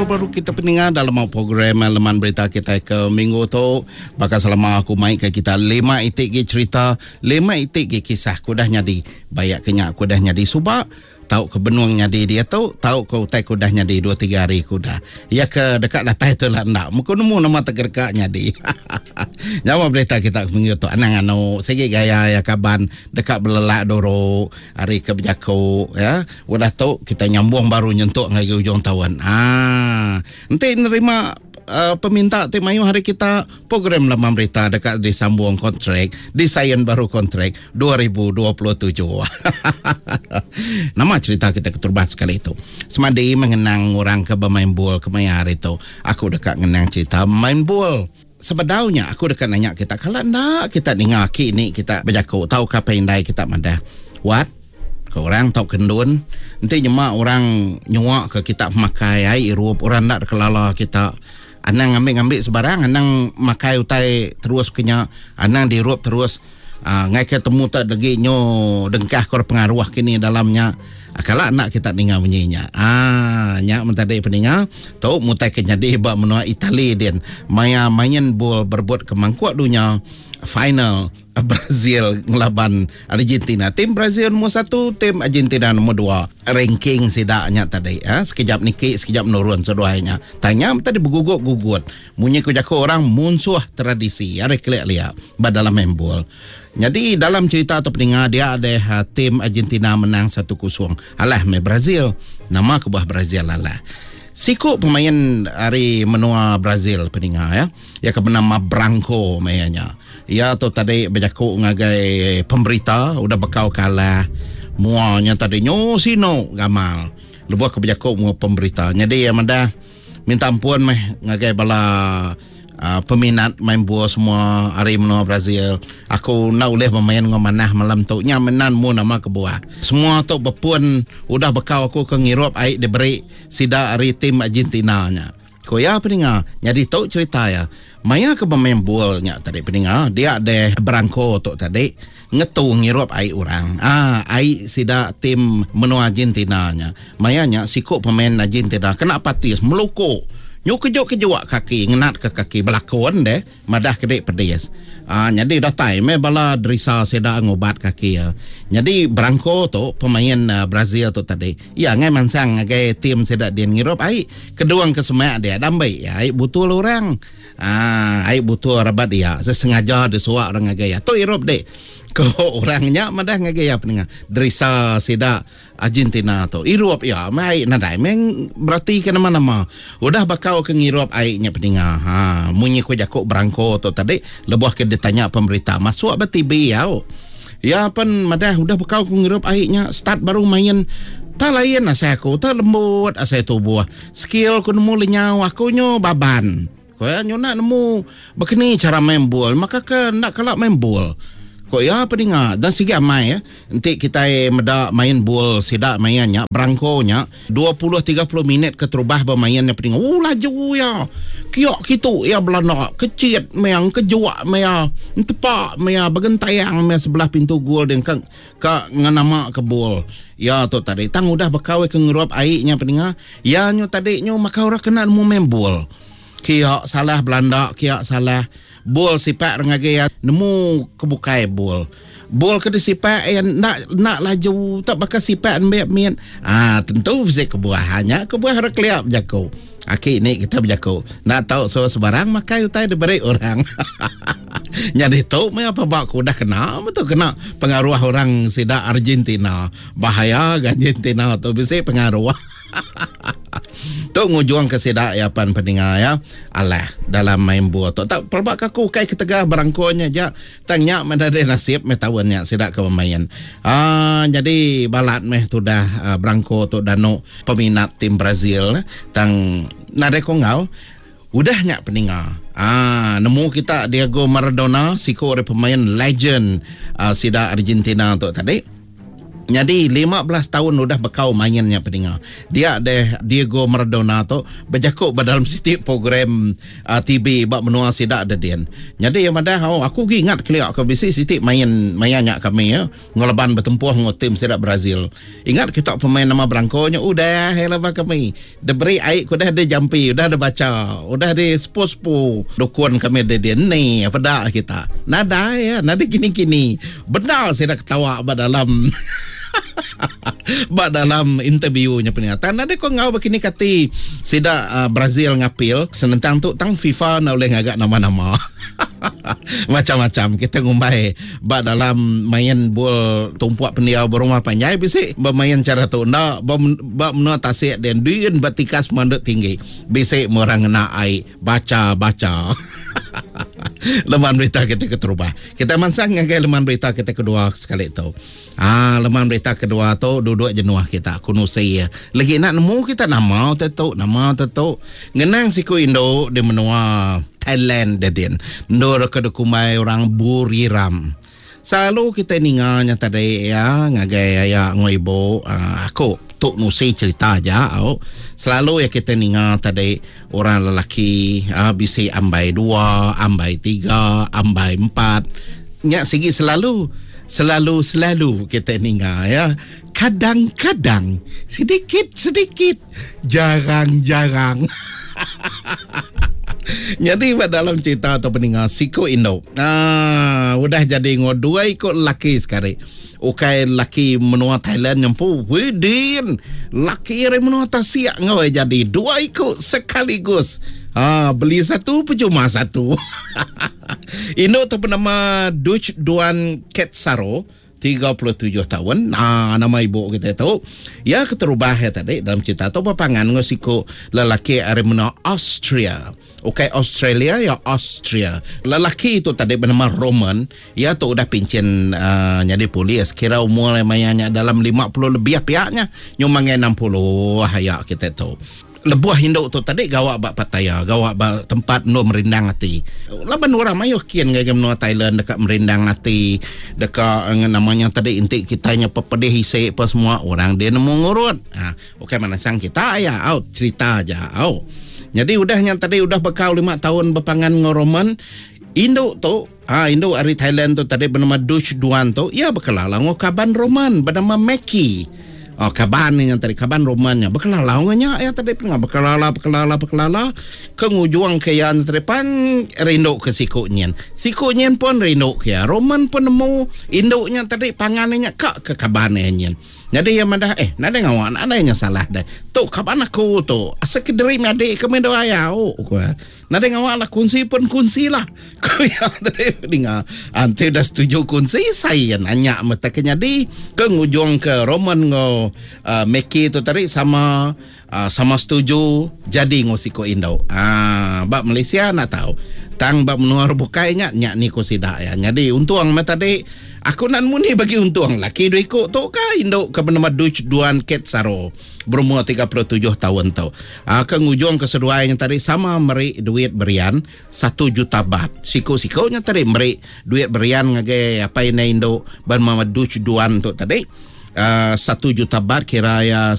betemu baru kita peninga dalam program Leman Berita kita ke minggu tu. Baka selama aku mai ke kita lima iti gi cerita, lima iti gi kisah ke udah nyadi. Bayak ke nya ke udah nyadi suba, tau ke benung nyadi diatu, tau ke utai ke udah nyadi dua tiga hari ke udah. Iya ke deka datai tu lah enda. Muku nemu nama te deka nyadi. Nyawa berita kita ke minggu tu anang anu sigi gaya iya kaban deka belelak dulu ari ke bejaku ya. Udah tu kita nyambung baru nyentuk ngagai ujung taun. Haa enti nerima uh, peminta ti mayuh ari kita program Laman Berita deka disambung kontrak, disain baru kontrak 2027. Nama cerita kita keterubah sekali tu? Semadi mengenang orang ke bermain bol kemaya hari tu. Aku deka ngenang cerita main bol. Sebedau nya aku deka nanya kita kala enda kita ninga aki ni kita bejaku tauka apai indai kita madah. Wat? Ke orang tauka endun enti nyema orang nyua ke kita pemakai ai irup orang enda dikelala kita anang ngambi-ngambi sebarang anang makai utai terus ke nya anang diirup terus aaa ngaika temu te legi nyu dengkah ke pengaruh kini dalam nya kala enda kita ninga munyi nya aaa nya men tadi peninga tu mutai ke nyadi ba menua Itali din maya main bol berebut ke mangkuk dunya final. Brazil ngelaban Argentina. Tim Brazil nombor satu, tim Argentina nombor dua. Ranking sida nya tadi. Ha? Sekejap niki, sekejap menurun seduai nya. Tanya tadi begugut-gugut. Munyi ku jaku orang munsuh tradisi. Ari kelik lia ba dalam main bol. Jadi dalam cerita tu peninga dia ada ha, tim Argentina menang 1-0. Alah meh Brazil. Nama kebuah Brazil alah. Siku pemain ari menua Brazil peninga ya. Iya ke benama Branco maya nya. Iya tu tadi bejaku ngagai pemberita udah bekau ke alah mua nya tadi nyu sinu gamal lebuh ke bejaku enggau pemberita. Nyadi iya madah minta ampun meh ngagai bala uhh peminat main bol semua ari menua Brazil. Aku enda ulih bemain enggau manah malam tu. Nya meh nan mu nama kebuah. Semua tu bepun udah bekau aku ke ngirup ai diberi sida ari tim Argentina nya. Ku iya peninga, nyadi tu cherita iya. Maya ke bemain bol nya tadi peninga, dia deh Branco tu tadi ngetu ngirup ai orang. Aa ai sida tim menua Argentina nya. Maya nya siku pemain Argentina kena patis meluku. Nyu kejuk-kejuk kaki ngenatka kaki belakon deh. Madah ke dik pedis. Aa nyadi datai meh bala derisa sida ngubat kaki iya. Nyadi Branco tu pemain Brazil tu tadi iya ngai mansang ngagai team sida din ngirup ai kedung ke semak dia dambi iya ai butul orang. Aa ai butul rabat iya sesengaja disuak orang ngagai iya. Tu irup dik ko orang nya madah ngagai iya penengah derisa sida. Argentina tu irup iya meh ai nadai meh berati ke nama-nama. Udah bakau ke ngirup ai nya peninga ha munyi ku jaku Branco tu tadi lebuh ke ditanya pemberita masuk ba TV au. Iya pen madah udah bakau ku ngirup ai nya start baru main tak lain asai aku tak lembut asai tubuh skill ku nemu lenyau aku nyu baban. Ku iya nyu enda nemu bekeni chara main bol maka ke enda kala main bol. Ku iya peninga dan sigi amai enti kitai meda main bol sida maya nya berangko nya 20 30 minit keterubah bemain nya peninga ooh laju iya. Kiok kitu iya belanda kechit meh engkejuk meh iya entepa meh iya begentayang meh sebelah pintu gol din ka ka ngenama ke bol iya tu tadi tang udah bekau ke ngerup ai nya peninga iya nyu tadi nyu maka orang kena nemu main bol. Kia salah belanda kia salah bol sipak ngagai iya nemu ke bukai bol. Bol ke disipak iya enda enda laju tak baka sipak nembiak mit. Aa tentu bisi kebuah nya kebuah orang kelia bejaku. Aki ni kita bejaku enda tau suruh sebarang makai utai diberi orang. Nyadi tu meh pelaba ku udah kena betul kena pengaruh orang sida Argentina. Bahaya ga Argentina tu bisi pengaruh. Tu ngujung ke sida iya pan peninga iya alah dalam main bol tu. Tak pelaba ke aku ukai ketegal berangko nya ja tang nya meh nadai nasib meh taun nya sida ke bemain. Aaa nyadi balat meh tudah berangko tu danu peminat tim Brazil tang nadai ko enggau. Udah nya peninga aaa nemu kita Diego Maradona siku ari pemain legend sida Argentina tu tadi. Nyadi 15 taun udah bekau main nya peninga. Dia deh Diego Maradona tu bejaku ba dalam siti program TV ba menua sida dedin. Nyadi iya madah oh aku agi ingat kelia ke bisi siti main maya nya kami ya ngelaban betempuh enggau tim sida Brazil. Ingat kita pemain nama Branco nya udah iya leba kami. Diberi ai ke udah dijampi udah dibacha udah disepu-sepu dukun kami dedin ni peda kita. Nadai ya nadai kini-kini. Bendar sida ketawa ba dalam ba dalam interview nya peninga. Tang nadai ko enggau bekini kati sida uh, Brazil ngapil senentang tu tang FIFA enda ulih ngaga nama-nama. Macam-macam kita ngumbai ba dalam main bol tumpuk pendiau berumah panjai bisi bemain cara tu enda ba, ba menua tasik den duin ba tikas manduk tinggi bisi orang ngena ai bacha-bacha. Leman berita kita keterubah. Kita mansang ngagai leman berita kita kedua sekali tu. Ah, leman berita kedua tu duduk jenuh kita aku nusi. Lagi nak nemu kita nama te tu, nama te tu. Ngenang siku indu di menua Thailand dedin. Endur ke dikumbai orang Buriram. Selalu kitai ninga nya tadi iya ngagai aya enggau ibu aku tu nusi cerita aja au. Selalu iya kitai ninga tadi orang lelaki bisi ambai dua, ambai tiga, ambai empat. Nya sigi selalu selalu selalu kitai ninga iya. Kadang-kadang sedikit sedikit Jarang-jarang. Nyadi ba dalam cerita tu peninga siku indu. Ah, udah jadi enggau dua iku lelaki sekali. Ukai lelaki menua Thailand nyempu. Widin, lelaki ari menua tasik enggau iya jadi dua iku sekaligus. Ah, beli satu percuma satu. Indu tu benama Duch Duan Ketsaro. 37 taun. Aa nama ibu kitai tu. Iya keterubah iya tadi dalam cerita tu bepangan enggau siku lelaki ari menua Austria. Ukai Australia iya Austria. Lelaki tu tadi benama Roman. Iya tu udah pinchin aa nyadi polis. Kira umur iya maya nya dalam 50 lebih pia nya. Nyumbang ngagai 60 aya kitai tu. Lebuh indu tu tadi gawa ba Pattaya, gawa ba tempat endur merindang ati. Laban orang mayuh kin ngagai menua Thailand deka merindang ati, deka nama nya tadi enti kitai nya pepedih isi pa semua orang dia nemu ngurut. Ha, ukai manansang kita aya au cerita aja au. Nyadi udah nya tadi udah bekau lima taun bepangan enggau Roman, indu tu ha indu ari Thailand tu tadi benama Duch Duan tu iya bekelala enggau kaban Roman benama Meki. Oh, kaban nya tadi kaban Roman nya bekelala enggau nya iya tadi pun bekelala bekelala bekelala ke ngujung ke iya tadi pan rindu ke siku nyin. Siku nyin pun rindu ke iya. Roman pun nemu indu nya tadi pangan nya ka ke kaban iya nyin. Nyadi iya madah eh nadai ngawa nadai nya salah deh. Tu kaban aku tu asal ke diri menyadi ke meh dua au ku iya. Nadai ngawa lah kunsi pun kunsi lah. Ku iya tadi ninga. Enti udah setuju kunsi sai iya nanya meh ke nyadi ke ngujung ke Roman enggau uh, Meki tu tadi sama uh, sama setuju jadi enggau siku indu. Uh, ba Malaysia enda tau. Tang ba menua bukai nya nya ni ku sida iya. Nyadi untung meh tadi aku enda nemu ni bagi untung laki dua iku tu ka indu ke benama Duch Duan Ketsaro. Berumur 37 taun tu. Ke ngujungka seduai nya tadi sama meri duit berian satu juta baht. Siku-siku nya tadi meri duit berian ngagai apai indai indu benama Duch Duan tu tadi 1 juta baht kira iya.